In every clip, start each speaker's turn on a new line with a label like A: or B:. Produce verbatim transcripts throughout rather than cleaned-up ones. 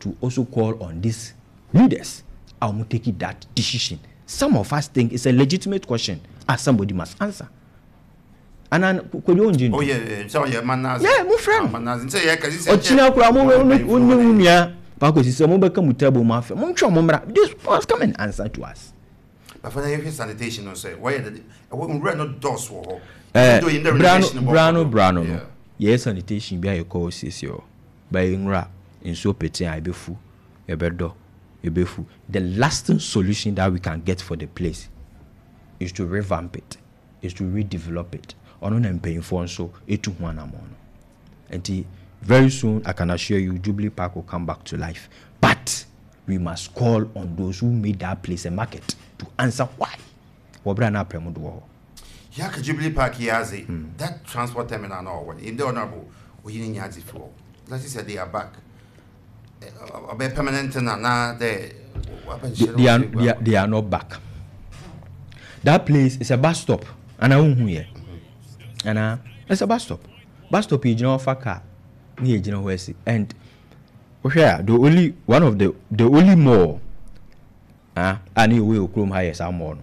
A: to also call on these leaders a wɔn take that decision. Some of us think it's a legitimate question as somebody must answer. Ana Kojo ongye
B: ntu? Oh yeah, sɛ ɔyɛ manazi.
A: Yeah, mo frɛ no.
B: Manazi nsɛ yɛ kasi sɛ.
A: Ɔkyina kura mo wo ne wo nua baako sisi mo bɛka mu table mu afɛ mo ntwa mo mmra. This must come and answer to us.
B: Bafa na yɛhwɛ sanitation no sɛ wɔyɛ dɛ ɛwɔ nwura no dɔs wɔ hɔ.
A: Ɛɛ brano brano brano no yɛyɛ sanitation bi a yɛkɔ siesie hɔ bɛyɛ nwura nsuo pete a ɛbɛfu, ɛbɛdɔ, ɛbɛfu. The lasting solution that we can get for the place is to revamp it, is to redevelop it. Ɔno na mpanyinfoɔ nso etu ho anammɔn no. Nti very soon, I can assure you, Jubilee Park will come back to life, but we must call on those who made that place a market to answer why wɔbrɛ na aprɛmu do wɔ hɔ.
B: Yaka Jubilee Park yi adze, that transport terminal na ɔwɔ no in the honorable oyi ne nya adze fi hɔ. Let's say they are back, ɔbɛ permanent na na dɛ
A: they, they, are, they, are, they are not back. That place is a bus stop. Ana wohu yɛ ana? It's a bus stop. Bus stop yɛ gyina hɔ fa car ne yɛ gyina hɔ asi. And wohwɛ a, the only one of the the only mall, ah, a ne yɛwɔ yɛ kurom ha yɛ saa mall no.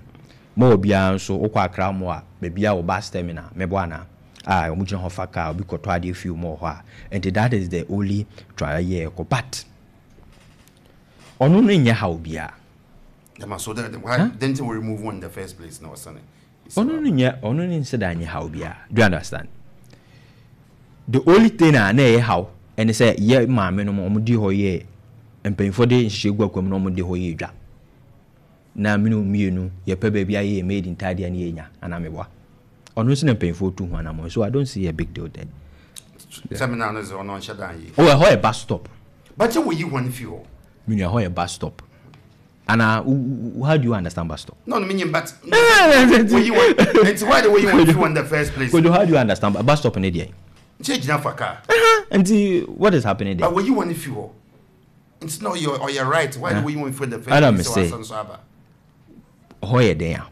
A: Mall biara nso, wokɔ Accra Mall a, baabi a wɔ bus terminal mɛbɔ ana a wɔn gyina hɔ fa car, obi kɔtɔ adeɛ fi mall hɔ a. Nti that is the only try yɛ ɛkɔ, but ɔno no nyɛ ha obiara.
B: Dama so that why huh? Didn't we remove one in the first place na ɔsane?
A: Ɔno no nyɛ, ɔno no nsɛ da nyɛ ha obiara. Do you understand? The only thing a na ɛyɛ haw ɛne sɛ yɛ maame no ɔmo di hɔ yɛ mpanyinfoɔ de nhyehyɛ gu akwam na ɔmo de hɔ yɛ dwa na mene mmienu yɛpɛ baabi ayɛ yɛ made in ntaadeɛ ne yɛnya anaa meboa. Ɔno nso na mpanyinfoɔ tu ho anamɔ, so I don't see a big deal there.
B: Terminal no sɛ ɔno ɔnhyɛ dan yi.
A: Oh, ɛhɔ yɛ bus stop.
B: Bàtɛ wɔyi wɔn fi hɔ.
A: Menua, hɔ yɛ bus stop ana? How do you understand bus stop?
B: No no menyim, but wɔyi wɔn nti why de wɔyi wɔn fi hɔ in the first place?
A: Kojo, how do you understand bus stop ne deɛ?
B: Nkyɛn gyina fa car.
A: Nti what is happening there?
B: But wɔyi wɔn fi hɔ nti na ɔyɛ ɔyɛ right. Why de wɔyi wɔn fi in the first
A: Adam
B: place?
A: Say
B: sɛ wasan so aba.
A: Hɔ yɛ den a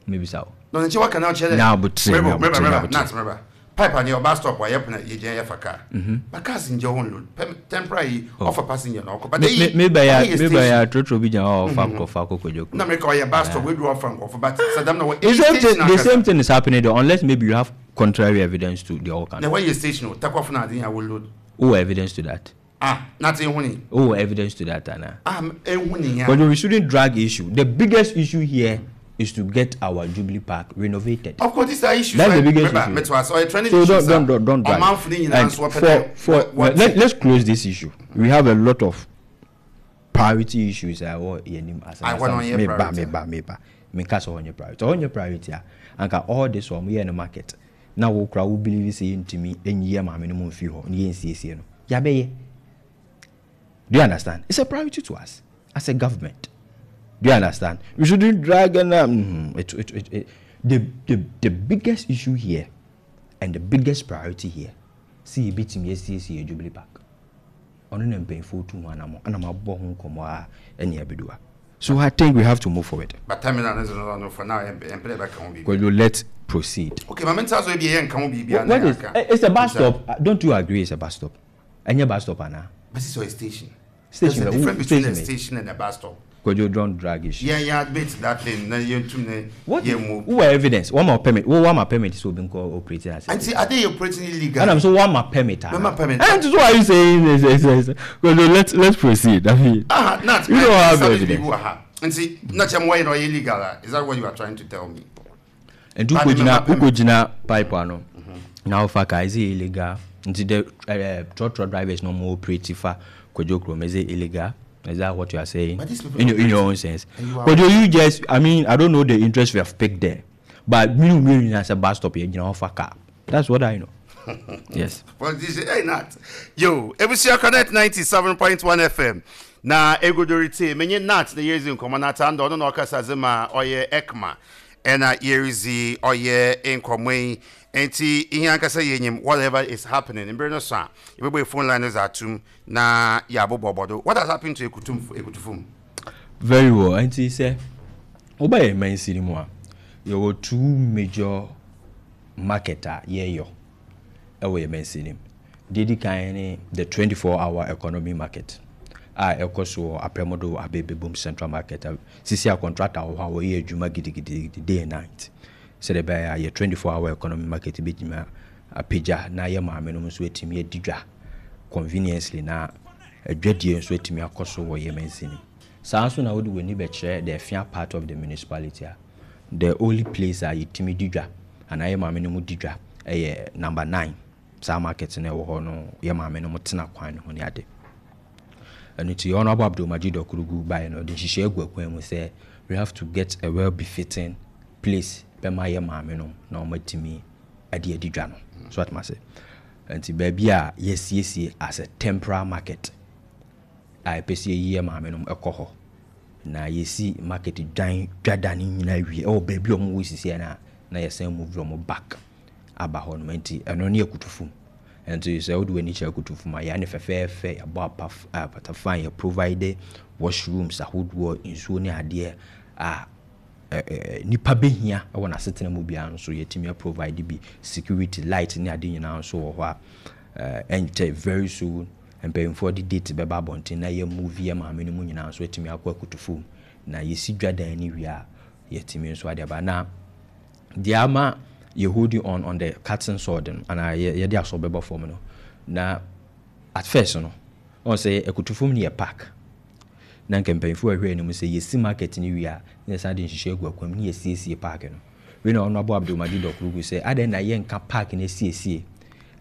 A: mebisa wo.
B: No, nkyɛn waka na ɔkyerɛ dɛ
A: Na abotire,
B: mɛbɔ
A: na
B: mɛba
A: abotire, na
B: mɛba
A: abotire.
B: Nat mɛba pipe ani ɔba stop a yɛpena yɛgyina yɛfa car, but cars ngyɛ hɔ nload pɛm temporary yi ɔfa passenger na ɔkɔ, but
A: me
B: eyi
A: me me bɛyɛ
B: ɔyɛ
A: me
B: station.
A: Bɛyɛ atorotoro bi gyina hɔ a ɔfa nkurɔfoɔ akɔ Kwadwo.
B: Na mɛka ɔyɛ bus stop wedu ɔfa nkɔfo, but sadam na wɔ
A: The same thing
B: station
A: the
B: ankasa.
A: Same thing is happening there, unless maybe you have contrary evidence to the ɔka.
B: Na wɔyɛ station o takwafo na ade yɛn awɔ load.
A: Wowɔ evidence to that?
B: Ah, nate ehu ni.
A: Wowɔ evidence to that ana?
B: Ah, ehu ni ya.
A: But we shouldn't drag issue. The biggest issue here is to get our Jubilee Park renovated.
B: Of course, these are issues.
A: That's the biggest
B: Remember,
A: issue.
B: meto ase ɔyɛ trending
A: So
B: issues.
A: don't don't don't, don't drag.
B: Ɔmanfo ne nyinaa
A: And
B: nso wɔpɛ
A: for
B: dɛ
A: for
B: wɔ-
A: let, let's close this issue. We have a lot of priority issues a ɛwɔ yɛn anim as
B: Ah, wɔn ɔnyɛ
A: meba
B: priority.
A: Meba meba meka sɛ ɔnyɛ priority, ɔnyɛ priority a anka all this wɔn yɛ no market na wo kora wo believe sɛ yɛntumi ɛnyi yɛ maame no mu mfi hɔ ne yɛnsiesie no yɛabɛyɛ. Do you understand? It's a priority to us as a government. Do you understand? We shouldn't drag and um, mm, it, it, it, it, the, the the biggest issue here and the biggest priority here sɛ yɛbɛtumi asiesie yɛ Jubilee Park. Ɔno na mpanyinfoɔ tu ho anammɔ ɛna mabɔ ho nkɔmmɔ a ɛne abɛdu ha. So I think we have to move forward.
B: But terminal no no no for now yɛmpɛ dɛ bɛka ho biribi.
A: Kojo, let's proceed.
B: Okay, maame nta so ebi yɛ nka ho biribi
A: What, what is eh, it's a bus stop. Uh, don't you agree it's a bus stop? Ɛnyɛ bus stop ana?
B: But it's a station.
A: Station.
B: There's a difference between
A: station
B: a station and a bus stop.
A: Kojo, don't drag issue.
B: Yeah, yeah, admit that thing na yɛntum ne
A: What?
B: Yɛ move.
A: Who evidence? One more permit. Wo one more permit so obi nkɔ operating as.
B: Nti ade yɛ operating illegal.
A: And I'm so one more permit.
B: Mema permit.
A: And so why are you saying this? This, this? Kojo, let's let's proceed. I mean,
B: ah, not
A: you don't have evidence.
B: Ha nti na kyɛn mo wɔyɛ na ɔyɛ illegal ah? Is that what you are trying to tell me?
A: Nti wokɔgyina wokɔgyina pipe ano na wofa car, is it illegal? Nti the uh, trotro drivers no more operate fa Kwadwo kurom, is it illegal? Is that what you are saying?
B: But these people
A: in your, in your own sense.
B: And you are-
A: Kojo, you just, I mean, I don't know the interest we have picked there, but me me as a bus stop yɛgyina hɔ fa car. That's what I know, yes.
B: Well, this is hey Nat. Yo, Ebusia Connect ninety-seven point one F M. Na egodori te menye Nat na yezi nkɔmɔ na ta ndo ɔno na ɔkasa dze ma ɔyɛ EKMA. Ɛna yɛrezi ɔyɛ nkɔmɔ yi. Nti ihe ankasa yɛnyim whatever is happening. Mbere no so a yɛbɛbɔ phone line no dze atum na yɛabobɔ do. What has happened to Ekutum Ekutufum?
A: Very well. Nti sɛ woba yɛ mansini mu a, yɛwɔ two major market a yɛyɔ ɛwɔ yɛ mansini mu. Deɛ di kan ne the twenty-four hour economy market. A ɛkɔ so wɔ Aprɛmodo Abɛɛbɛbom Central Market a sisi a contractor wɔ hɔ a wɔyɛ adwuma gidigidi day and night sɛdeɛ ɛbɛyɛ a yɛ twenty-four hour economy market bɛtumi apagya na yɛ maame nom nso atumi adi dwa conveniently na adwadie nso atumi akɔ so wɔ yɛ mansini. Saa nso na wode w'ani bɛkyerɛ the Effia part of the municipality a, the only place a yɛtumi di dwa anaa yɛ maame no mu di dwa ɛyɛ Number Nine. Saa market no ɛwɔ hɔ no, yɛ maame no mu tena kwan no ho ne ade. Ɛno nti Honourable Abdul-Majid Akurugu baeɛ no, ɔde nhyehyɛ agu akwan mu sɛ we have to get a well befitting place bɛma yɛ maame no na wɔatumi ade adi dwa no so atoma sɛ. Nti baabi a yɛsiesie as a temporary market a ɛpɛ sɛ yɛyi yɛ maame no ɛkɔ hɔ na yɛsi market dwan dwada no nyinaa wie ɛwɔ baabi a ɔmo wɔ sisi no a, na yɛsan move ɔmo back aba hɔ nom. Nti ɛno ne Akutufum. Nti sɛ wode w'ani kyerɛ Akutufum a, yɛa ne fɛfɛɛfɛ, yɛabɔ apa apata fine, yɛ provide washrooms ahodoɔ, nsuo ne adeɛ a nipa bɛhia ɛwɔ n'asetena mu biara nso yɛtumi provide bi. Security light ne ade nyinaa nso wɔ hɔ a ɛnkyɛ, very soon mpanyinfoɔ de date bɛba abɔnten na yɛ move yɛ maame no mu nyinaa nso atumi akɔ Akutufum na yɛsi dwadan no wie a, yɛtumi nso ade aba. Na deɛ ama yɛ holding on on the cutting sword no anaa yɛde asɔ bɛbɔ fam no, na at first no ɔn sɛ Akutufum no yɛ park na nka mpanyinfoɔ ahwɛ anim sɛ yɛsi market no wie a, na yɛsan de nhyehyɛ agu akwan mu na yɛsiesie park no. Wei na ɔno abɔ Abdulmajid Ɔkurugu sɛ adɛn na yɛnka park no asiesie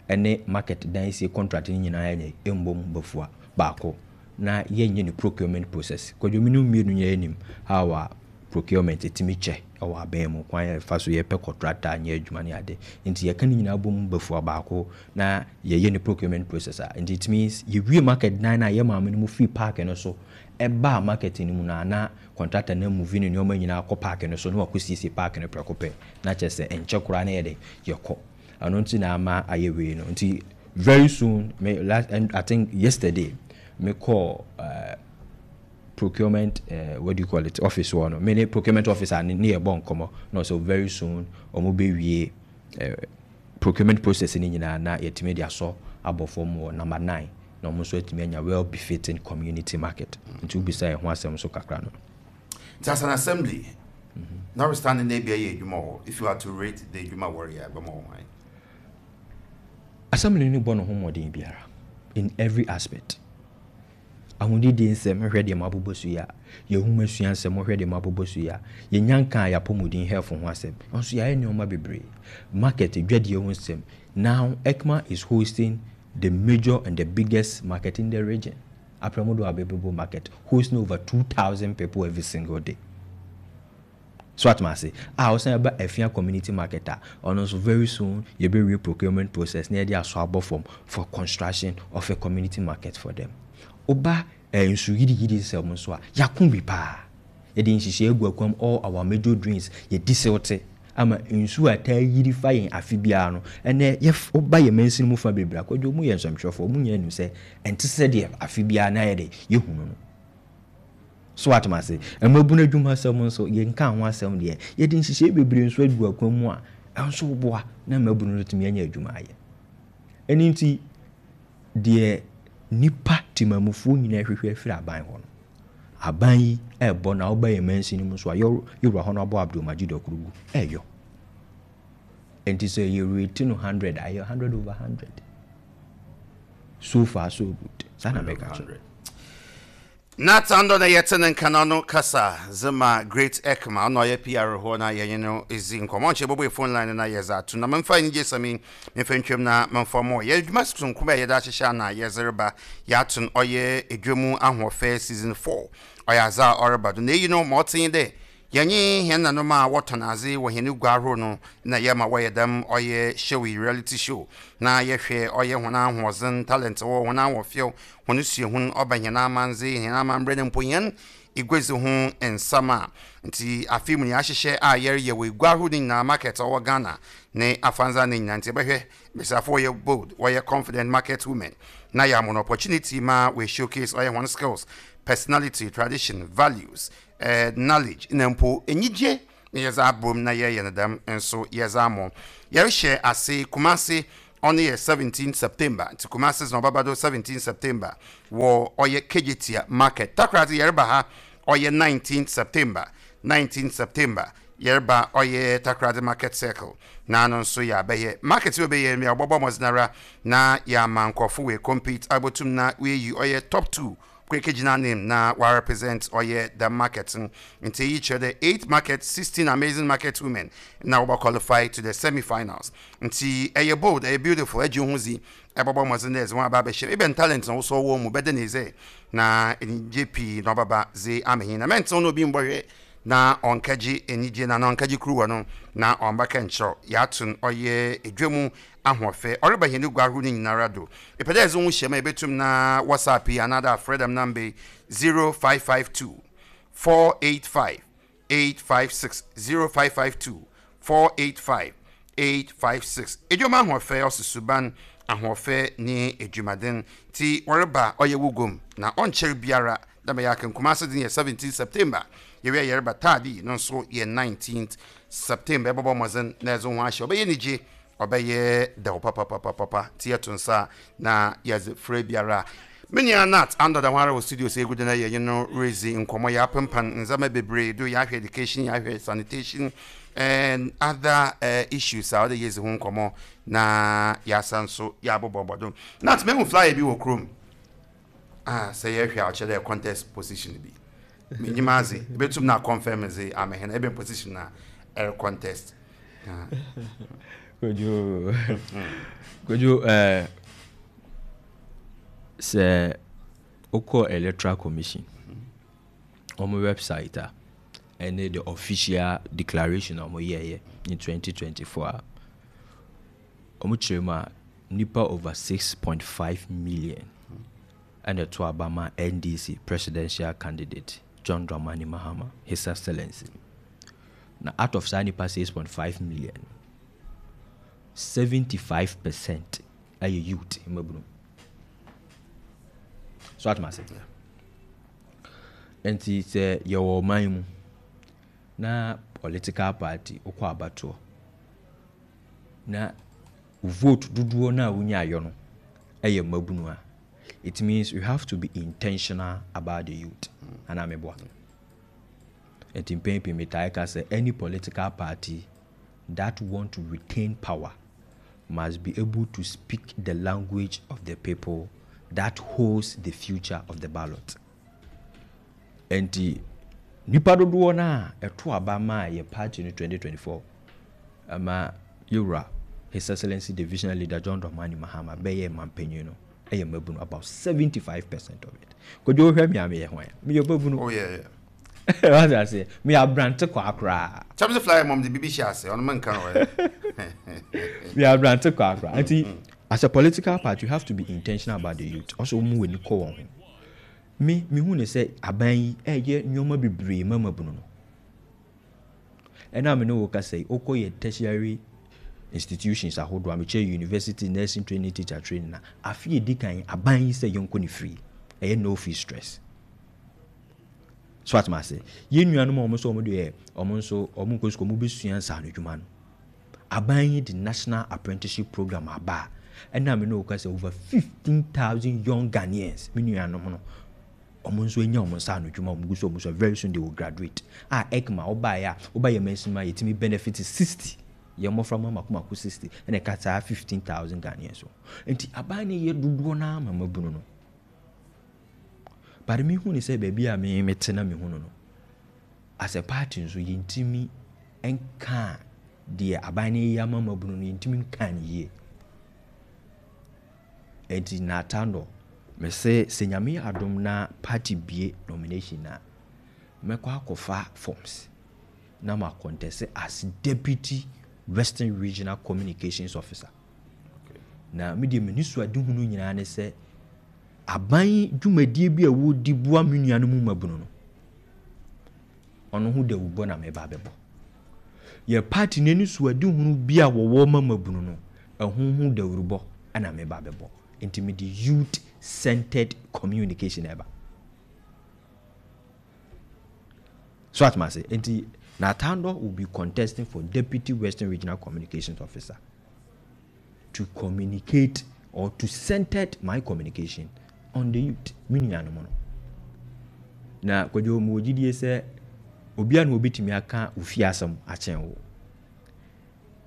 A: ɛne market dan sie contract no nyinaa yɛ mbom bafua baako na yɛnyɛ ne procurement process. Kwadwomi no mmienu nyɛ anim how a procurement ɛtumi kyɛ ɛwɔ abɛn mu, kwan yɛfa so yɛpɛ contractor nyɛ adwuma ne ade. Nti yɛka ne nyinaa bom bafua baako na yɛyɛ ne procurement process a, nti it means yɛwie market dan no a, yɛ maame no mu firi park no so ɛbaa market no mu no a, na contractor no move ne nneɛma nyinaa kɔ park no so na wakɔ siesie park no prɛko pɛ, na kyerɛ sɛ ɛnkyɛ koraa na yɛde yɛkɔ. Ɛno nti na ama ayɛ wei no. Nti very soon, me last, and I think yesterday me call uh, procurement, uh, what do you call it, office hɔ no, me ne procurement officer ne ne yɛbɔ nkɔmmɔ na ɔsɛ very soon ɔmo bɛwie uh, procurement process ne nyinaa na yɛtumi de asɔ abɔ fam wɔ Number Nine na ɔmo nso atumi anya well befitting community market. Nti wobisa yɛn ho asɛm so kakra no.
B: Nti as an assembly, notwithstanding na ebia yɛ adwuma hɔ, if you had to rate the adwuma wɔreyɛ, ɛbɛma wɔn hwan?
A: Assembly no bɔ ne ho mmɔden biara in every aspect. Ahonidie nsɛm, hwɛ deɛ mabobɔ so yi a, yɛhoma sua nsɛm, hwɛ deɛ mabobɔ so yi a, yɛnya nka a yɛapɔmuden health ho asɛm nso, yɛayɛ nneɛma bebree. Market dwadie ho nsɛm, now EKMA is hosting the major and the biggest market in the region, Aprɛmodo Abɛbɛbɔ Market, hosting over two thousand people every single day. So atoma ase a, ɔsan ba Afia Community Market a, ɔno nso very soon yɛbɛwie procurement process na yɛde asɔ abɔ fam for construction of a community market for them. Woba eh, nsu yiriyiri nsɛm nso a, yɛako bi paa. Yɛde nhyehyɛ agu akwam, all our major drains yɛdi silt ama nsuo a taa yiri fa yɛn afe biara no. Ɛnɛ yɛ woba yɛ mansini mu fa bebree akɔdwo mu yɛ nsɛmtwerɛfoɔ mu nyinaa nim sɛ ɛnte sɛ deɛ afe biara na yɛde yɛhunu no so. Atom ase, mmabunu adwuma asɛm nso, yɛnka ho asɛm deɛ, yɛde nhyehyɛ bebree nso agu akwan mu a ɛnso boa na mmabunu no tumi anya adwuma ayɛ. Ɛno nti deɛ nipa temamufoɔ nyinaa hwehwɛ afiri aban hɔ no, aban yi ɛɛbɔ. Na woba yɛ mansini mu nso a, yɛwura hɔ no abɔ Abdulmajid Akurugu ɛɛyɔ. Nti sɛ yɛrate no hundred, ayɛ hundred over hundred. So far so good, saa na mɛka kyerɛ.
B: Natando na yɛte ne nkana no kasa zema Great EKMA, ɔno ɔyɛ P R hɔ na yɛnye no ɛzi nkɔmmɔ. Nkyɛ bɔbɔ phone line na yɛdze ato na memfa anigye sɛm yi memfa ntwam na memfa mmɔ yɛ adwuma sononko a yɛde ahyehyɛ ana yɛdze reba. Yɛato no ɔyɛ edwamu ahoɔfɛ season four. Ɔyɛ adze a ɔreba do na eyi no ma ɔtee dɛ yɛnye hɛn nanom a wɔtɔn adze wɔ hɛn gua ahorow no na yɛma wɔyɛ dɛm ɔyɛ show yi, reality show, na yɛhwɛ ɔyɛ hɔn ahoɔdzen, talent wɔ hɔn ahoɔfɛw, hɔn suahun ɔba hɛn amandze, hɛn amambrɛ no mpo hɛn eguadzi ho nsɛm a. Nti afei mu yɛahyehyɛ a yɛreyɛ wɔ egua ahorow no nyinaa, market a ɔwɔ Ghana ne afandza ne nyinaa. Nti yɛbɛhwɛ mbesiafo wɔyɛ bold, wɔyɛ confident market women na yɛ ama no opportunity ma wɔ showcase ɔyɛ hɔn skills, personality, tradition, values, uh, knowledge na mpo enyigye na yɛdze abom na yɛyɛ no dɛm nso. Yɛdze amɔ yɛrehyɛ ase Kumase Ɔno yɛ seventeen September, nti Kumasi na ɔbɛba do seventeen September wɔ ɔyɛ Kejetia Market. Takoradi yɛreba ha, ɔyɛ nineteen September. nineteen September yɛreba ɔyɛ Takoradi Market Circle na ano nso yɛ abɛyɛ market yi ɔbɛyɛ mi a ɔbɛbɔ mmɔdenara na yɛama nkurɔfo wɔ compete abotum na wɔayi ɔyɛ top two kweke gyina name na wa represent ɔyɛ the market no. Nti eyi kyerɛ dɛ eight market, sixteen amazing market women na wɔbɛ qualify to the semi-finals. Nti ɛyɛ bold, ɛyɛ beautiful, ɛgye ho zi, ɛbɛbɔ mmɔden dɛ ɛdze wɔn aba abɛhyɛ ebɛn talent na wosɔ wɔ mu bɛde ne sɛ na anigye pii na ɔbɛba dze amehin na mɛntew na obi mbɔhwɛ na ɔnkɛgye anigye na na ɔnkɛgye kuruwa no na ɔmbɛka nkyerɛw. Yɛato no ɔyɛ edwa ahoɔfɛ ɔreba hɛn gua ahorow no nyinara do. Ɛpɛ dɛ ɛdze wo hyɛ ma ɛbɛtum na WhatsApp yi anaadɛ afrɛ dɛm number yi, zero five five two four eight five eight five six, zero five five two four eight five eight five six. Edwuma ahoɔfɛ ɔsi suban ahoɔfɛ ne edwumaden nti wɔreba ɔyɛ wo gom na ɔnkyɛr biara dɛm yɛ aka. Kumase de yɛ seventeen September, yɛwia yɛreba Taadi no nso yɛ nineteenth September. Ɛbɛbɔ mmɔden na ɛdze ho ahyɛ, ɔbɛyɛ nigye, ɔbɛyɛ dɛw papapapapa. Nti yɛto nsa na yɛdze frɛ biara. Me nua Nat Andɔda ho ara wɔ studio sɛ ɛgu de no yɛnye no rezi nkɔmmɔ. Yɛ apempan ndzɛmba bebree do, yɛahwɛ education, yɛahwɛ sanitation and other uh, issues a wɔde yɛzi ho nkɔmmɔ na yɛasa nso yɛabobɔbɔ do. Nat, mehu flyer bi wɔ kurom ah, sɛ yɛhwɛ a ɔkyerɛ dɛ contest position bi. Menyim adze ebɛtum na confirm dze amehɛn ɛbɛn position na ɛrɛ contest. Ah.
A: Kojo, Kojo, ɛɛ sɛ wokɔ Electoral Commission wɔn website a ɛne the official declaration a wɔn yɛɛyɛ in twenty twenty-four a wɔn kyerɛ mu a, nipa over six point five million ɛna ɛto aba ma N D C presidential candidate John Dramani Mahama, His Excellency. Na out of saa nipa six point five million, seventy-five percent ɛyɛ youth, mmabunu. So atoma ase, nti sɛ yɛwɔ ɔman mu na political party wokɔ abatoɔ na vote dodoɔ no a wonyaayɔ no ɛyɛ mmabunu a, it means you have to be intentional about the youth anaa meboa? Nti mpɛn pii metae ka sɛ any political party that want to retain power must be able to speak the language of the people that holds the future of the ballot. Nti nipa dodoɔ no a ɛto aba maa yɛ party no twenty twenty-four ama yɛwura His Excellency the visionary leader John Dramani Mahama bɛyɛ mampanyin no ɛyɛ mmabunu, about seventy-five percent of it. Kodwo, wohwɛ me a, meyɛ hwan? Meyɛ mmabunu.
B: Oh, yeah, yeah.
A: Wate aseɛ? Meyɛ aberante kɔ akoraa.
B: Kyɛm sɛ flyer mɔm de biribi hyɛ ase, ɔno menka no ɛ.
A: Meyɛ aberante kɔ akoraa. Nti as a political party, you have to be intentional about the youth. Ɔsɛ wɔn mu w'ani kɔ wɔn ho. Me mehu ne sɛ aban yi ɛyɛ nneɛma bebree ma mmabunu no. Ɛna me ne wo kasa yi, wokɔ yɛ tertiary institutions ahodoɔ a mekyerɛ university, nursing training, teacher training na afe edi kan aban yi sɛ yɛnkɔ ne free, ɛyɛ no fee stress. So atoma ase, yɛn nuanom a wɔn nso wɔn deɛ wɔn nso wɔn nkɔ sukuu, wɔn bɛsua nsaano adwuma no, aban yi de National Apprenticeship Program aba a ɛna me ne wo kasa over fifteen thousand young Ghanaians, me nuanom no, wɔn nso anya wɔn nsa ano adwuma wɔn gu so wɔn so. Very soon they will graduate. A EKMA ɔbaeɛ a ɔba yɛ mɛnsin mu a yɛtumi benefit sixty, yɛn mmɔfra mu amako mako sixty ɛna ɛka saa fifteen thousand Ghanaians so. Nti aban no yɛ dodoɔ naa ma mabunu no, but mi hu ne sɛ baabi a mi mi te na mi hu no no as a party nso yɛntumi nka deɛ aban no yɛ ama mabunu no, yɛntumi nka ne yie. Nti n'atando mese sɛ Nyame yɛ adom na party bie nomination na mɛkɔ akɔfa forms na ma contest as Deputy Western Regional Communications Officer. Na me deɛ, m'ani so adehunu nyinaa ne sɛ aban dwumadie bi a wɔdi boa me nuanom mu mabunu no, ɔno ho dawubɔ na meba abɛbɔ. Yɛ party n'ani so adehunu bi a wɔwɔ ma mabunu no, ɛho ho dawurubɔ ɛna meba abɛbɔ. Nti mede youth centered communication ɛba so atoma ase. Nti Natando will be contesting for Deputy Western Regional Communications Officer. to communicate or to center my communication on the youth, me nuanom no. Na Kwadwo, mu wɔ gyidie sɛ obiara na obɛtumi aka ofie asɛm akyɛn wo.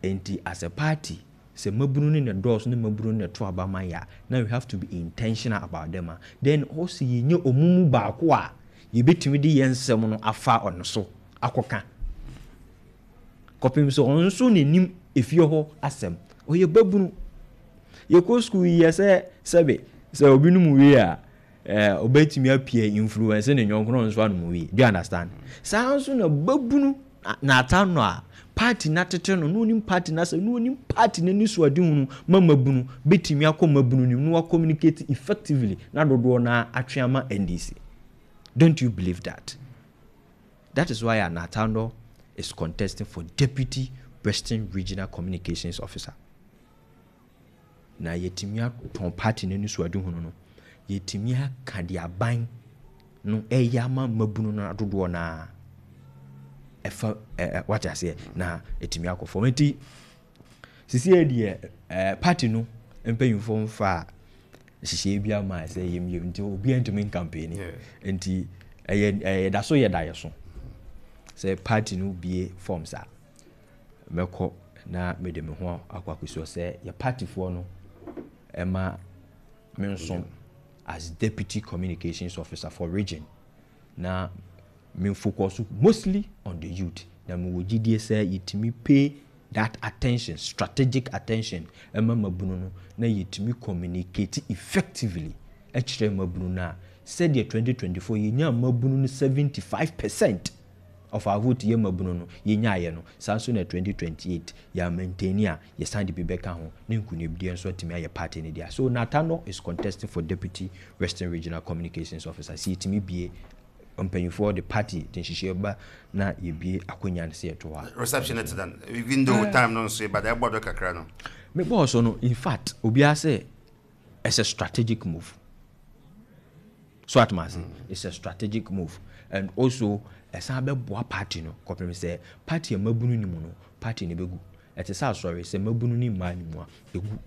A: Nti as a party, sɛ mabunu ne ne dɔɔso ne mabunu ne to aba ma yɛ a, now we have to be intentional about them a, then also yɛnyɛ ɔmo mu baako a yɛbɛtumi de yɛn nsɛm no afa ɔno so akɔka kɔpem sɛ ɔno nso n'anim efie hɔ asɛm. Ɔyɛ babunu, yɛkɔ school yi, yɛ sɛ sɛbe sɛ obi nom wie a, ɛɛ ɔbɛtumi apia influence ne nyɔnko no nso anom wie. Do you understand? Saa nso na babunu n'ata no a party na tete no na onim party na sɛ na onim party n'ani so ade hunu ma mabunu bɛtumi akɔ mabunu nim na wa communicate effectively na dodoɔ na atwe ama N D C. Don't you believe that? That is why Anatando is contesting for Deputy Western Regional Communications Officer. Na yɛtumi atɔn party n'ani so ade hunu no, yɛtumi aka de aban no ɛyɛ ama mabunu no adodoɔ naa ɛfa ɛɛ wate aseɛ, na ɛtumi akɔ fam. Nti sisi yɛ deɛ, ɛɛ party no mpanyinfoɔ mfa a nhyehyɛeɛ bi ama sɛ yɛm yɛm, nti obiara ntumi ncampaign. Nti ɛyɛ ɛyɛ da so yɛ da yɛ so sɛ party no bie forms a, mɛkɔ na mede me ho akɔ akɔsi hɔ sɛ yɛ partyfoɔ no ɛma me nso as Deputy Communications Officer for region, na me focus mostly on the youth. Na mewɔ gyidie sɛ yɛtumi pay that attention, strategic attention, ɛma mabunu no na yɛtumi communicate effectively ɛkyerɛ mabunu no a, sɛdeɛ twenty twenty-four yɛnya mabunu no seventy-five percent of our vote yɛ mabunu no yɛnyaayɛ no, saa nso na twenty twenty-eight yɛ maintain a, yɛsan de bi bɛka ho ne nkonimdie nso atumi ayɛ party no dea. So Natano is contesting for Deputy Western Regional Communications Officer. Sɛ yɛtumi bie, mpanyinfoɔ de party de nhyehyɛ ba na yɛbie akonnwa no sɛ yɛto hɔ a.
B: Reception it then, even though time no nso, but ɛbɔ do kakra no.
A: Mebɔɔ so no, in fact, obiara sɛ it's a strategic move. So atoma ase, it's a strategic move and also ɛsan bɛboa party no kɔpem sɛ party a mabunu ne mu no, party no bɛgu. Ɛte sɛ asɔre, sɛ mabunu ne mmaa ne mu a, ɛgu,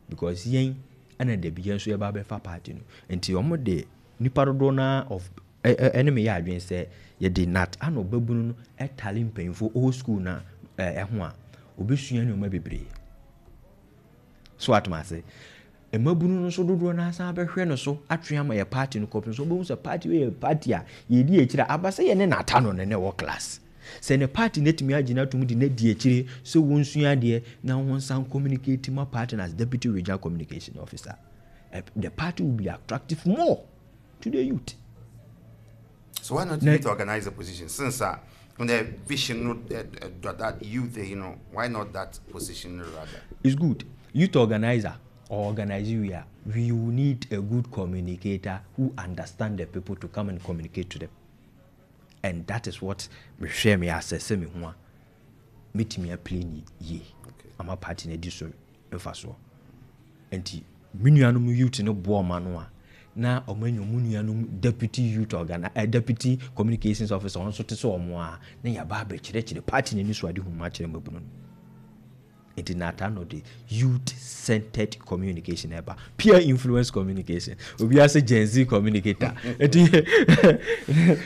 A: because yɛn ɛna dabi yɛn nso yɛba bɛfa party no. Nti wɔn de nipa dodoɔ naa of ɛne me yɛ adwene sɛ yɛde nat ana ɔbɛbunu no ɛtale mpanyinfoɔ old school na ɛho a obɛsua nneɛma bebree. So atoma ase, mmabunu no nso dodoɔ no asan bɛhwɛ no so atwe ama yɛ party no kɔpem so wobɛhu sɛ party wei yɛ party a yɛdi akyire a aba sɛ yɛne nata no ne ne wɔ class, sɛ ne party no atumi agyina tom de no adi akyire sɛ wɔnsua adeɛ na wɔn nsan communicate ma party no as Deputy Regional Communication Officer. Eh, the party will be attractive more to the youth.
B: So why not youth organize the position, since uh, when the vision no uh, uh, that youth, you know why not that position rather?
A: It's good. Youth organizer or organize, we are we will need a good communicator who understand the people to come and communicate to them, and that is what mehwɛ me asɛsɛ me ho a metumi aplay ne yie ama party no adi so mfa soɔ. Nti me nuanom youth no boɔ ɔma no a, na ɔmo anya ɔmo nuanom deputy youth organ eh, deputy communications officer, ɔno nso te sɛ ɔmo a na yɛaba abɛkyerɛkyerɛ party no ani so ade hu mu akyerɛ mmabunu no. Nti nata no de youth centered communication ɛba, peer influence communication, obiara sɛ Gen Z communicator. Nti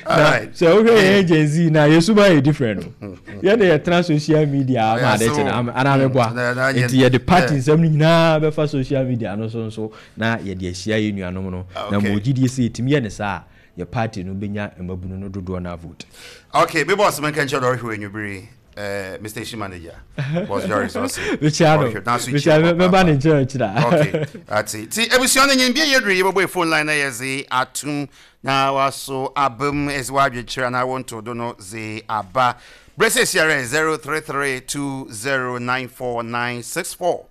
A: na sɛ wohwɛ yɛn Gen Z na yɛsuma yɛ different no, yɛne yɛtena social media ama ade kyɛ no anaa mɛboa. Nti yɛde party nsɛm no nyinaa bɛfa social media no so nso na yɛde ahyia yɛ nuanom no, na ma ogyidie sɛ yɛtumi yɛ ne saa a, yɛ party no bɛnya mmabunu no dodoɔ no vote.
B: Okay, me boss, man, can you ɔhwɛ enwubere uh, me station manager, Boss Joris, ɔse
A: mekyia no, mekyia, mɛba ne nkyɛn akyira.
B: Okay, ati ti ebusua no nyim bia yɛduru yɛbɛbɔ phone line na yɛdze atum na waso abam ɛdze wadwekyerɛ anaa wɔnto do no dze aba berɛ sɛ siarɛ zero three three two zero nine four nine six four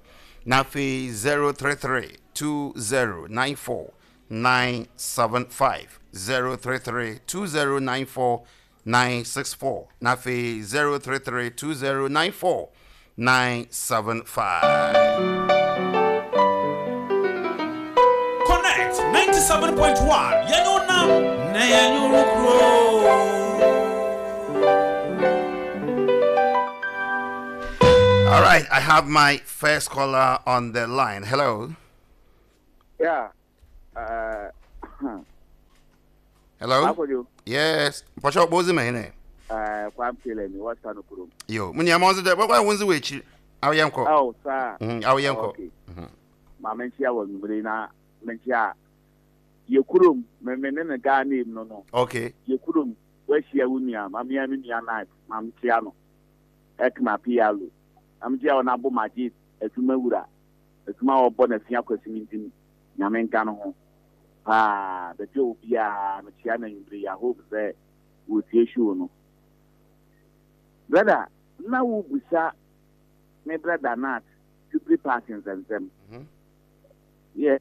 B: na afei zero three three two zero nine four nine seven five, zero three three two zero nine four nine six four na afei zero three three two zero nine four nine seven five.
C: Connect ninety-seven point one, yɛnyɛ nam na yɛnyɛ kuro.
B: All right. Right, I have my first caller on the line. Hello.
D: Yeah. Uh,
B: Hello. Yes. Pastor Bozi me ne.
D: Eh, Kwame Taylor ni what's no kurom.
B: Yo, munya mo ze wa wonzi we chi. Aw yenko.
D: Oh, sir.
B: Mhm, aw yenko.
D: Okay. Ma menchia wa nwumre na menchia ye kurom me me ne ga name no no.
B: Okay.
D: Ye kurom we hia wo nua, ma me me nua night, ma mchia no. Ekma P L O. Am chia ona bo magid adwuma wura. Adwuma wo bo na fia kwasi ntim. Nyame nka no ho. Ah, the job ya me chia na nwumre ya hope say wo tie show no. Brother, na wo busa me brother Nat Jubilee Park in Zemzem.
B: Mm-hmm.
D: Yeah.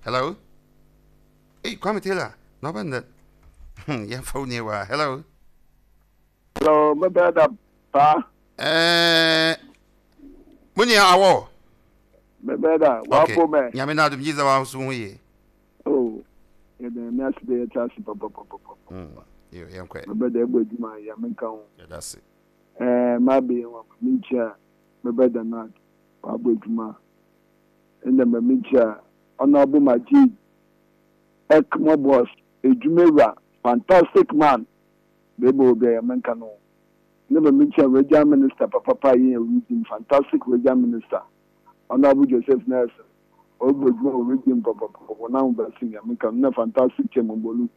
B: Hello. Hey, Kwame Taylor. No one that. Yeah, phone you. Hello.
E: Hello, my brother. Pa.
B: Eh. Munya awo.
E: My brother.
B: Okay. Nyame na adum jiza wa so hu.
E: Oh. Yeah, me aside chance pa pa pa pa.
B: Mm. Yo, yeah, okay.
E: My brother ebo adwuma ya me nka ho.
B: Yeah, that's it.
E: Eh, my be wa me nchia. My brother Nat wa bo adwuma. Enda me nchia Honorable Majid Ekmo boss edwuma fantastic man. Bebo be ya me nka no. Enda me nchia regional minister papa pa yin region fantastic regional minister. Honorable Joseph Nelson. Obo adwuma region papa papa na ba sin ya me nka na fantastic chairman bolu.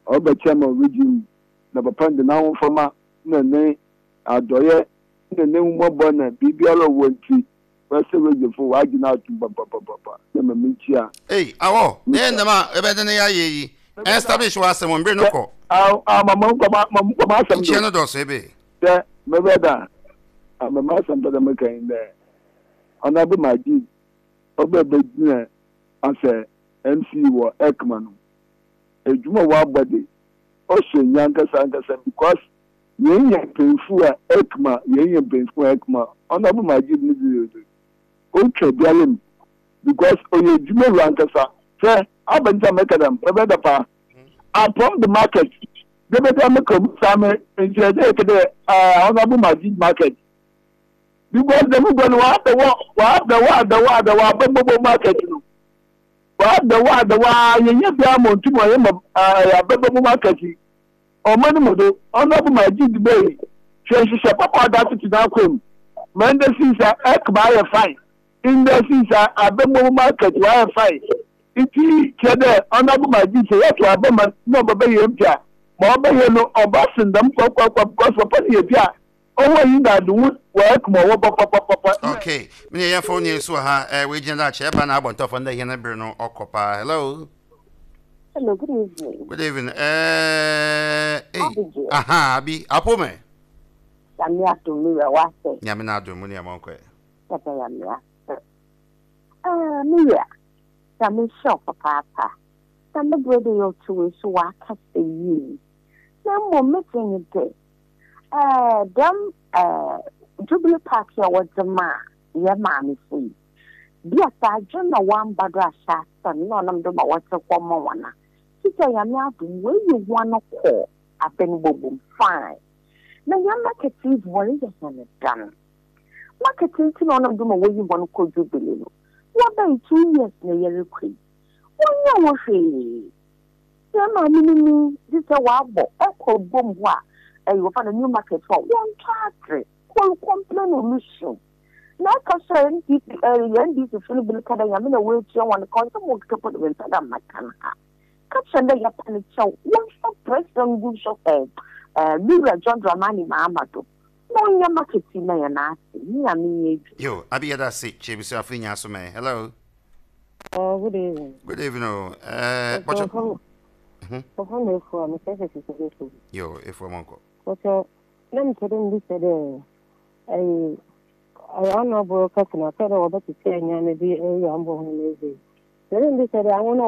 E: Obo chairman region na papa ndi na ho fama na ne adoye na ne mmobo na bibiara wonti wese wejefo wa gina atu papa papa na me nchia.
B: Hey, awo ne na ma ebe de ne ya ye yi establish wa asem mbre no ko
E: ah ah mama ko ma ko ma asem
B: nchia no do so ebe
E: de me brother ah mama asem da me kan de Honorable Majid obebe gina ase M C wo Ekman no edwuma wa body o so nyankasa ankasa because yen yen penfu a Ekma yen yen penfu Ekma Honorable Majid ni di o twa bialem because oye edwuma wa ankasa se abanja mekadam brother pa upon the market de be da mekam same nche de kede Honorable Majid market because the go no wa the wa the wa the wa the wa bobo market no wa the wa the wa yen yen bia montu mo yen ma bobo market o mani mo do Honorable Majid be hwehwehwɛ papa da tutu na kwem mande sinsa Ekma ye fine in the sinsa abembo market wa fine iti kede Honorable Majid say to abema no baba ye mpia ma oba ye no oba sindam kwa kwa kwa because papa ye bia owo yi na do wa Ekma wo papa papa.
B: Okay, me ye phone ye so ha eh we gina che ba na abontofo nda ye na bre no okopa. Hello.
F: Hello, good evening.
B: Good evening. Eh, hey. Aha, Abi, apome.
F: Nyame adom mi wa se.
B: Nyame na adom ni am onko.
F: Papa ya me. Ah, mi ya. Nyame show papa papa. Na me brother yo to so wa ka se yi. Na mo meeting de. Eh, dem eh Jubilee Park ya wodema ye ma me fu. Bia sa adwo na wan ba do ahya asem na onam do ma wote kwmo wana. Tita ya me adom we yi ho no ko aben bobom fine. Na ya marketing worry ya na dan. Marketing ti na onam do ma we yi ho no ko Jubilee no. Wo ba two years na ye rekwe. Wo nya wo hwe. Ya ma ni ni tita wa bo ekọ bom ho a eh you find a new market for one charge. Call complain solution. Na ka so N D P N D C funu bil kada ya mina we ti won ko so mo ke put we tada makan ha. Ka chende ya pan chaw won so president gu so eh eh Mira John Dramani Mahama do. No nya marketing na ya na ase. Ni ya me ye.
B: Yo, abi ya da se che bi so afinya so me. Hello.
G: Oh, good evening.
B: Good evening. Eh, but mhm. Yo, if we monko.
G: But let me tell you this day. I I honorable customer said about to say and be a young boy. Then they said I want to.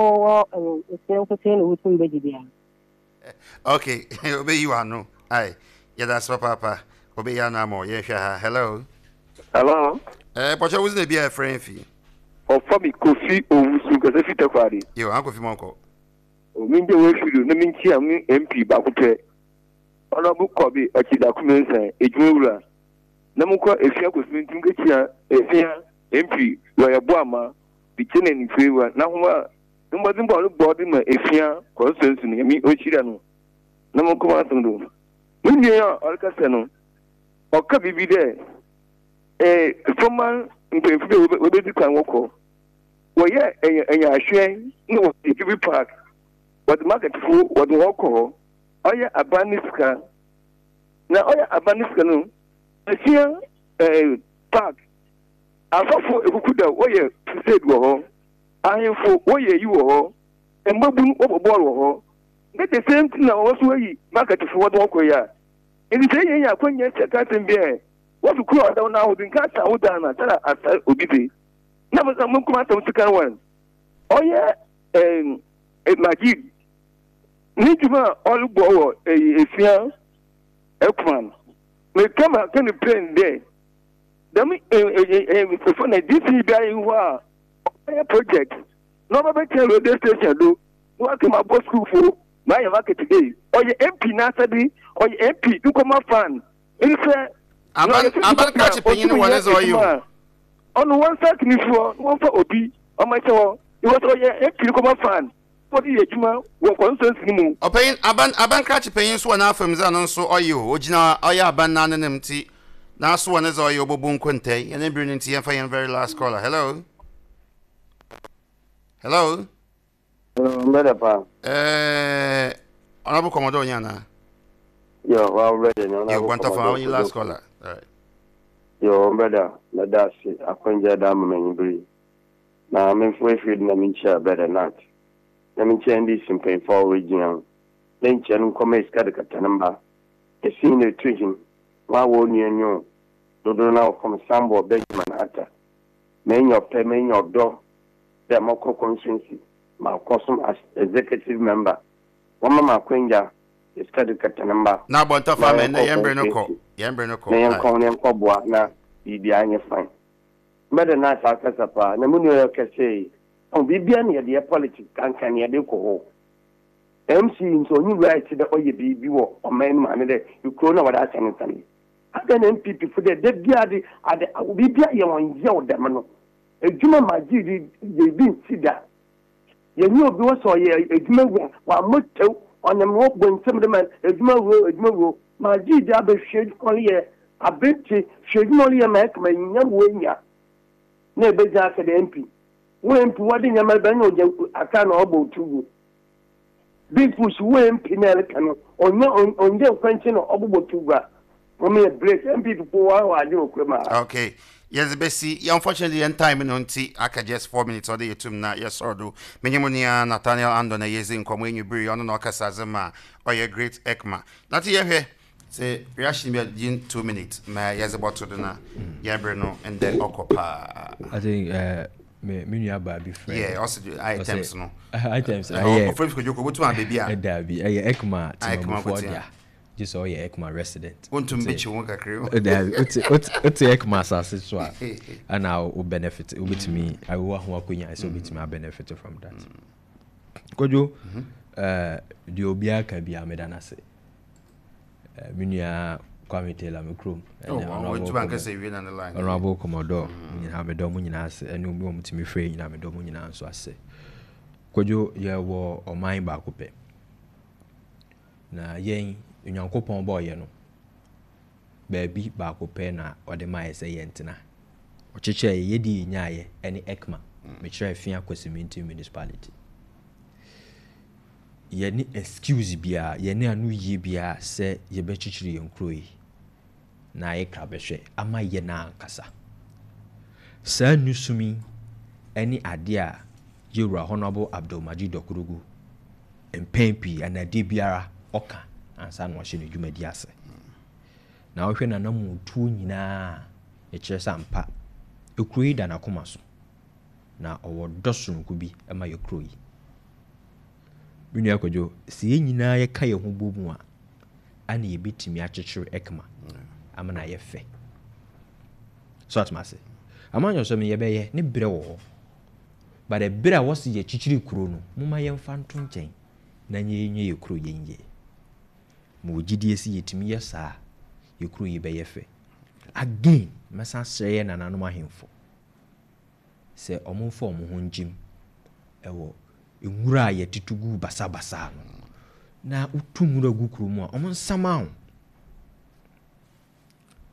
B: Okay, obey you are no. Aye, yeah, that's what papa. Obey ya no more. Yeah, hello.
H: Hello.
B: Eh, but you wasn't be a friend fee.
H: Or for me, Kofi Owusu, because if you talk about it.
B: Yo, Uncle Fimonko.
H: O min de we fido na min chi am M P ba ko pe. Honorable Kobi Ochida Kumensa, ejumewura. Na monkɔ Efia Kosimi nti nkekyia Efia M P lɔya Boama bikyɛ na nifewa na homa mbɔdze bɔ ɔno bɔ de ma Efia constituency no, Nyame ɔnhyira no. Na monkɔ m'asɛm do. Me nua a ɔrekasa no, ɔka biribi dɛ ɛɛ former mpanyinfo bi a wɔbɛdi kan wɔkɔ wɔyɛ ɛnyɛ ɛnyɛ ahwɛ na wɔde Jubilee Park, wɔde marketfo wɔde wɔn kɔ hɔ. Ɔyɛ aban ne sika, na ɔyɛ aban ne sika no, Efia ɛɛ park, asɔfo ekuku da wɔyɛ crusade wɔ hɔ, ahemfo wɔyɛ yi wɔ hɔ, mbabunu wɔbɔ bɔɔl wɔ hɔ. Ne the same thing na wɔn nso ayi marketfo wɔde wɔn kɔ yi a, nti sɛ yɛn yɛ akɔnya sɛ kasɛm bi ɛ wɔfi kuro a ɔda wɔn ahodo nka asa ahodo na sara asa obi de na mo mo nkɔmɔ asɛm sika wɔn ɔyɛ ɛɛ Majid ne dwuma a ɔrebɔ wɔ ɛyi Efia Ekman, meka ma ka ne plain dɛ dɛm ɛɛ ɛfɔ na D C bi ayi hɔ a ɔyɛ project na ɔbɛbɛkyɛn radio station do na waka ma bɔ sukuufo ma ayɛ market day. Ɔyɛ M P n'asɛde, ɔyɛ M P nkɔmɔ fan nsɛ.
B: Aban aban krakye panyin wɔ ne sɛ ɔyɛ o.
H: Ɔno wɔn nsa kini soɔ na wɔmfa obi ɔmo ɛkyɛ hɔ because ɔyɛ M P nkɔmɔ fan, wɔde yɛ adwuma wɔ constituency no mu.
B: Ɔpanyin, aban aban krakye panyin nso wɔ n'afam dze, ɔno nso ɔyɛ o, ogyina ɔyɛ aban n'anenem nti n'aso wɔ ne dze ɔyɛ ɔbɔbu nkontɛ. Yɛn ebiri no nti yɛmfa yɛn very last caller. Hello, hello.
I: Mbɛdɛ pa.
B: Ɛɛ, Honorable Commodore nyana.
I: Yo, wa brɛdɛ ni.
B: Yo, Guantafa, our last caller. All right.
I: Yo, mbɛdɛ, mɛda ase akwangya da ama m'anyi bere. Na memfo efiri na menkyia brɛdɛ Nat. Na menkyia N D C mpanyinfoɔ a wɔgyina ho. Na nkyia no nkɔmɔ esika de kata ne mba. Esi na etu hin. Wɔn a wɔn nua nyo. Dodo na wɔkɔm Sambo Benjamin Ata. Menya ɔpɛ, menya ɔdɔ. Dɛ mɔkɔ constituency. Ma kɔsom as executive member. Wɔn mama akwangya esika de kata ne mba.
B: Na abɔntɔfa mɛ na yɛn bere no kɔ, yɛn bere no kɔ.
I: Na yɛn kɔn na yɛn kɔ boa na biribi anyɛ fine. Mbɛde na asa akasa paa na mu nua yɛ kɛse yi ɔn biribiara na yɛde yɛ politics kankan na yɛde kɔ hɔ. M C nso onyi right dɛ ɔyɛ biribi wɔ ɔman no mu ane dɛ ekuro na wɔde ahyɛ ne nsa no ada na N P P fo dɛ de bia de ade biribiara yɛ wɔn yɛw dɛm no edwuma ma gye di yɛ bi nsi da. Yɛnyɛ obi wɔ sɛ ɔyɛ edwuma wura wɔamɔ tew ɔnam na wɔbɔ nsɛm de ma edwuma wuro, edwuma wuro ma gye di abɛhwɛ edwuma ɔyɛ abente hwɛ edwuma ɔyɛ ma ɛkama nya wo enya na ebegyina aka dɛ M P wo M P wɔde nyɛma bɛn na ɔgya aka na ɔbɔ otu gu Big Push wo M P na ɛreka no ɔnyɛ ɔnyɛ nkwankyɛn na ɔbobɔ tu gu a wɔn yɛ break N P P po wɔn wɔ adwene okura mu ha.
B: Okay, yɛdze bɛsi. Unfortunately yɛn time no nti aka just four minutes ɔde yɛtum na yɛsɔrɔ do. Menye mu nua Nathaniel Andon na yɛdzi nkɔmmɔ enwibiri. Ɔno na ɔkasa dze ma ɔyɛ Great Ekma na te yɛhwɛ sɛ reaction bi a gyin two minutes ma yɛdze bɔto do na yɛbere no ndɛ ɔkɔ paa.
A: I think uh, me me nua baa bi frɛ.
B: Yeah, ɔsɛ items no.
A: Items ɛyɛ.
B: Ɔfrɛ fi Kodwoko wotum abɛbi a.
A: Dabi, ɛyɛ Ekma temamufoɔ dea, gye sɛ ɔyɛ Ekma resident.
B: Wontum bɛkyi wo kakra.
A: Dabi, wote wote Ekma asase so a ɛna wo benefit, wobɛtumi awo ho akonnwa sɛ wobɛtumi a benefit from that. Kodwo, ɛɛ deɛ obiara ka bi a, meda n'ase. Me nua Kwame Taylor, me kurom. Honorable Commodore nyinaa, medɔ mo nyinaa ase. Ɛne obi a wɔtumi frɛ nyinaa, medɔ mo nyinaa nso ase. Kodwo, yɛwɔ ɔman baako pɛ na yɛn Onyankopɔn bɔɔyɛ no, baabi baako pɛ na ɔde maa yɛ sɛ yɛntena. Ɔkyekyɛ yɛ yɛdi yɛ nyaayɛ ɛne Ekma, mekyerɛ Fia Kwesimintsim Municipality. Yɛne excuse biara, yɛne ano yie biara sɛ yɛbɛkyekyere yɛn kuro yi na ayɛ krabɛhwɛ ama yɛn ankasa. Saa nusum yi ɛne adeɛ a yɛwura Honourable Abdulmajid Dokurugu mpɛn pii anadeɛ biara ɔka ansa na wahyɛ ne dwumadi ase. Na wohwɛ nanamotuo nyinaa, ɛkyerɛ sɛ ampa ekuro yi da n'akoma so na ɔwɔ dɔ soronko bi ma yɛ kuro yi. Me nua Kwadwo, sɛ yɛn nyinaa yɛka yɛn ho bɔ mu a, ana yɛbɛtumi akyekyere Ekma ama no ayɛ fɛ so atoma ase amanyɔ sɛ yɛbɛyɛ ne berɛ wɔ hɔ. But ɛberɛ a wɔsi yɛkyekyere kuro no, momma yɛmfa nto nkyɛn na nyɛ yɛ kuro yɛn yie. Ma wɔ gyidie sɛ yɛtumi yɛ saa, yɛ kuro yi bɛyɛ fɛ. Again, mɛsan srɛ yɛ nananom ahemfo sɛ ɔmo mfa ɔmo ho ngyim ɛwɔ nwura a yɛtutu gu basabasa no, na wotu nwura gu kurom a, ɔmo nsama wo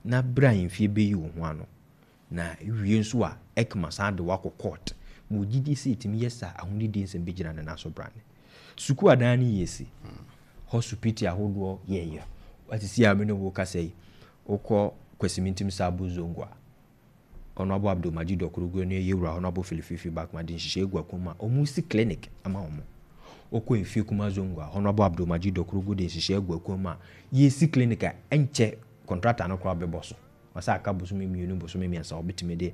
A: na berɛ a ahemfie bɛyi wo ho ano na wie nso a, EKMA san de wakɔ court ma ogyidi sɛ ɛtumi yɛ saa. Ahonidie nsɛm bɛgyina ne nan so. Brane sukuu adan no yɛ si hospital ahodoɔ yɛyɛ wasisi a, me ne wo kasa yi, wokɔ Kwasimintim Sabo Zongo a, ɔno abo Abdul Majid Ɔkorogo no yɛwura hɔ no, abo Filififi back ma de nhyehyɛ egu akɔn mu a ɔmo si clinic ama ɔmo. Wokɔ Efie Kuma Zongo a, ɔno abo Abdul Majid Ɔkorogo de nhyehyɛ egu akɔn mu a yɛsi clinic a ɛnkyɛ contractor no koraa bɛbɔ so. Ɔsɛ aka bosome mmienu, bosome mmiɛnsa, ɔbɛtumi de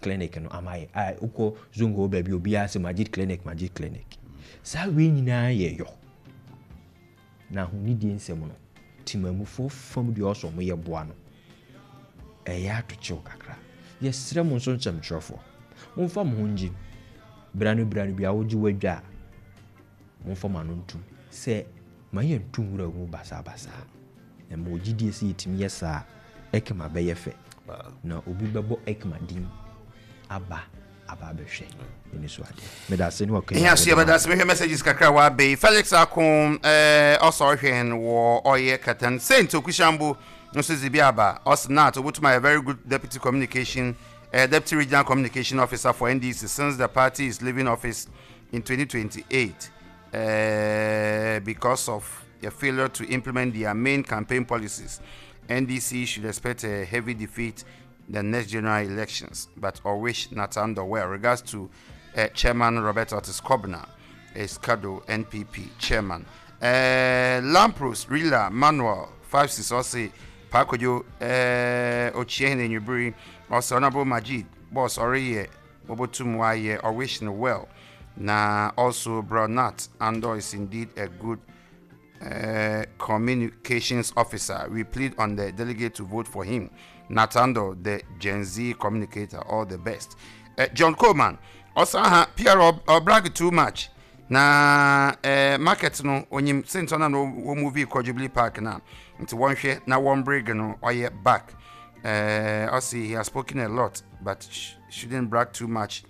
A: clinic no ama yɛ. A wokɔ Zongo hɔ baabi, obiara sɛ Majid Clinic, Majid Clinic. Saa wei nyinaa yɛ yɔ na ahonidie nsɛm no, timamufoɔ fam deɛ ɔsɔ ɔmo yɛ boa no, ɛyɛ atokyew kakra. Yɛsrɛ mo nso, nsɛmtwerɛfoɔ, momfa mo ho ngye bra no bra no bi a wogye wadwa a, momfa mo ano ntom sɛ ma yɛnto nwura mu basaabasaa na ma ogyidie sɛ yɛtumi yɛ saa, EKMA bɛyɛ fɛ na obi bɛbɔ EKMA din aba aba abɛhwɛ ɛni so adeɛ. Meda ase ne wakɔ.
B: Ihe so yɛbɛda ase. Mehwɛ messages kakra a wabɛyi. Felix Ako eh, ɔsɔ ɔhwɛ wɔ ɔyɛ Katan Saint Okushambo nso dze bi aba. Ɔsɛ nat obotum ayɛ very good deputy communication uh, deputy regional communication officer for N D C since the party is leaving office in twenty twenty-eight uh, because of a failure to implement their main campaign policies. N D C should expect a heavy defeat in the next general elections, but I wish Natando well. Regards to uh, Chairman Robert Otis Kobna, Escado N P P chairman. Uh, Lampros Rila Manuel five six ɔse Pakojo uh, Ochie Nyubri also Honorable Majid boss ɔreyɛ Mobotum wayɛ or wish no well. Na also Bronat Andor is indeed a good uh, communications officer. We plead on the delegate to vote for him. Natando, the Gen Z communicator, all the best. Uh, John Coleman, also ha P R or brag too much. Na uh, market no onyim sentɔ na no wɔ movie kɔ Jubilee Park na nti wɔnhwɛ na wɔn brig no ɔyɛ back. Uh, also he has spoken a lot but sh shouldn't brag too much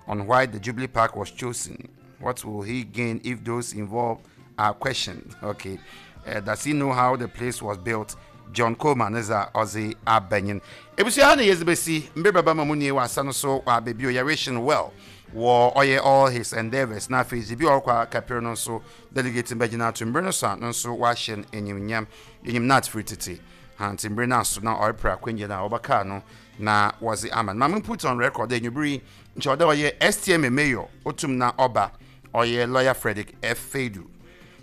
B: on why the Jubilee Park was chosen. What will he gain if those involved are questioned? Okay. Uh, does he know how the place was built? John Coleman is a Aussie abenyin. Ebusua na yɛdze besi mbe baba ma mu nie wɔ asa no so wɔ abɛbio. Yɛwishing well wɔ ɔyɛ all his endeavours na afei dze bi a ɔrekɔ akapere no nso delegate bɛgyina ato mbere no so a no nso wahyɛ no enyimnyam. Enyim nat firi tete hanti mbere no aso na ɔrepere akwangye no a wɔbɛkaa no na wɔdze ama no. Maame, put on record enyimire nkyɛn ɔdɛ ɔyɛ S T M A mayor otum na ɔba ɔyɛ Lawyer Frederick F. Fedu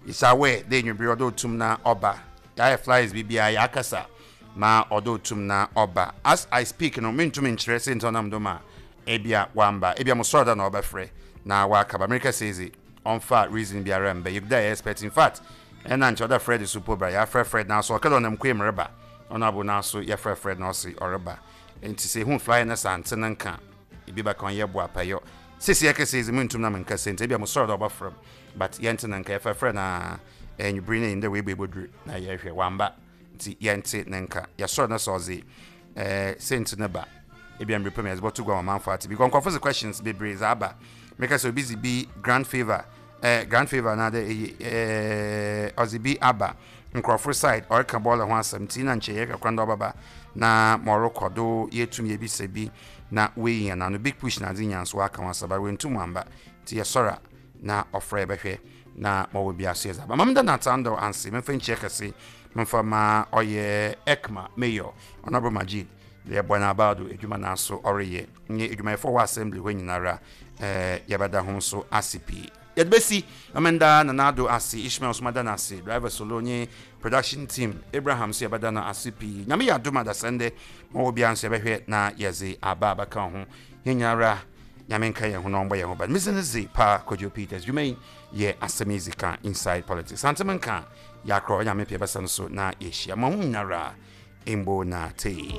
B: is aware dɛ enyimire ɔdɛ otum na ɔba. Yɛayɛ flyers biribiara, yɛakasa ma ɔdɛ otum na ɔba. As I speak no, mentumi nkyerɛ sɛ nti ɔnam do ma ebia wamba. Ebia mo sɔrɔ da na ɔbɛfrɛ na wakaba. Amerika sɛ ɔmfa reason biara mbɛ yɛguda yɛ expect. In fact, ɛna nkyɛn ɔda Fred so po bra. Yɛafrɛ Fred na so ɔkɛdɛ ɔnam kwan mu reba. Ɔno abo na so yɛfrɛ Fred na ɔse ɔreba. Nti sɛ ehun flyer no sante ne nka ebi bɛka ɔnyɛ bo apayɔ sisi ɛkɛsɛ ɛzi mu ntum na menka sɛ nti ebia mo sɔrɔ da ɔbɛfrɛ m but yɛnte ne nka. Yɛfrɛfrɛ na ɛnwubiri ne ndɛ wei bɛbɔduru na yɛhwɛ wamba nti yɛnte ne nka. Yɛsɔrɔ no sɛ ɔdze ɛɛ senti ne ba ebia mbere pɛm yɛdze bɔto gua ɔmanfo ate because nkɔfo sɛ questions bebree dze aba. Meka sɛ obi dze bi grand favor ɛɛ grand favor na de ɛyɛ ɛɛ ɔdze bi aba nkurɔfo side ɔreka bɔɔla ho asɛm nti na nkyɛn yɛhwɛ kwan dɛ ɔbɛba na ma ɔrekɔ do yɛtum yɛbisa bi na wei yɛn ano big push na adze nya nso aka ho asɛm ba wɔntum amba nti yɛsɔre a na ɔfrɛ yɛbɛhwɛ na ma ɔwɔ bi aso yɛdze aba. Mam da Natando anse memfa nkyia kɛse memfa ma ɔyɛ EKMA mayor Honorable Majid yɛbɔ no abaado adwuma no aso ɔreyɛ nye adwumayɛfoɔ wɔ assembly hɔ nyinara. ɛɛ yɛbɛda ho nso ase pii. Yɛde bɛsi mamenda Nanado ase, Ishmael nso mada no ase, driver solo nye production team Abraham nso yɛbɛda no ase pii. Nyame yɛ adom adasɛndɛ ma wɔ biara nso yɛbɛhwɛ na yɛdze aba abɛka ho. Yɛn nyinara Nyame nka yɛn ho na ɔmbɔ yɛn ho ban. Mesi no dze pa Kwadwo Peters dwuma yi yɛ asɛm yi ka Inside Politics santem nka yɛakorɔ Nyame pɛ bɛsa no so na yɛhyia ma ho nyinara mbo na tei.